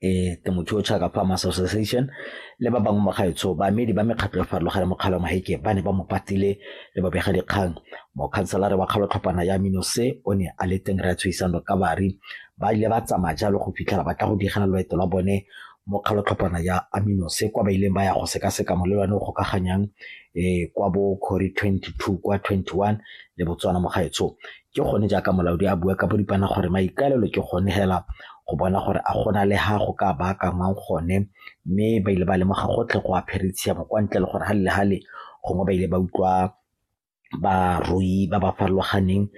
Temothuo Chaka Farmers Association le ba bangwe mogaetsho baemedi ba mekgatlho e farologane mo kgaolong Maheke ba ne ba mo patile le babegadikgang. Mokhanselara wa kgaolotlhophana ya Minose o ne a le teng re a tshoisano ka bari ba ile ba tsamaya jalo go fitlhela ba tla go digela loeto lwa bone mo kgaolotlhophana ya Aminose kwa ba ileng ba ya go sekaseka molelwane o gokaganyang kwa bo Khori 22 kwa 21 le Botswana mogaetsho. Ke gone jaaka molaodi a bua ka boripana gore maikaelelo ke gone hela go bona gore a gona le ha go ka baakangwang gone, mme ba ile ba lemoga gotlhe go apere tshiamo kwa ntle le gore hale le hale gongwe ba ile ba utlwa barui ba ba farologaneng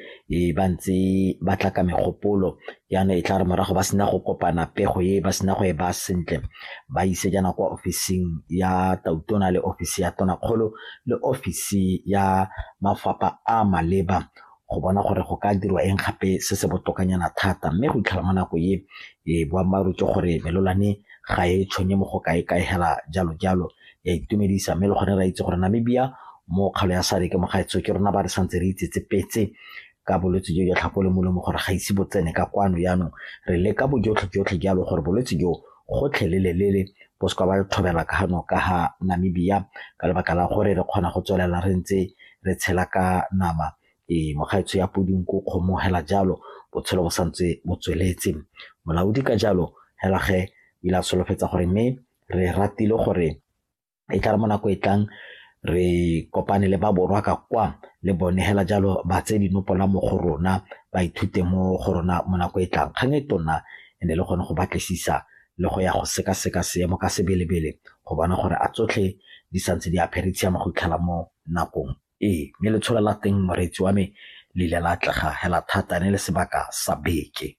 ba ntse ba tla ka megopolo. Jaanong e tla re morago ba sena go kopana pego e ba sena go e baya sentle ba ise jaana kwa ofising ya tautona le ofisi ya tonakgolo le ofisi ya mafapha a maleba go bona gore go ka dirwa eng gape se se botokanyana thata. Mme go itlhela mo nako e boammaaruri ke gore melelwane ga e tshwenye mo go kae-kae hela jalo-jalo ya itumedisa. Mme le gone re a itse gore Namibia mo kgaolo ya SADC mo gaetsho ke rona ba re santse re itsetsepetse ka bolwetse jo jwa tlhako le molomo gore ga ise bo tsene ka kwano. Jaanong re leka bojotlhe-jotlhe jalo gore bolwetse jo gotlhelele bo seka ba thobela ka gano ka ga Namibia ka lebaka la gore re kgona go tswelela re ntse re tshela ka nama mogaetsho ya podi, nku, kgomo hela jalo botshelo bo santse bo tsweletse. Molaodi ka jalo hela ge o ile a solofetsa gore mme re ratile gore e tla re mo nako e tlang re kopane le ba borwa ka kwa le bone hela jalo ba tseye dinopola mo go rona ba ithute mo go rona mo nako e tlang. Kgang e tona e ne le gone go batlisisa le go ya go sekaseka seemo ka sebelebele go bona gore a tsotlhe di santse di apere tshiamo go itlhela mo nakong e. Mme letsholo la teng moreetsi wa me le ile la atlega hela thata ne le sebaka sa beke.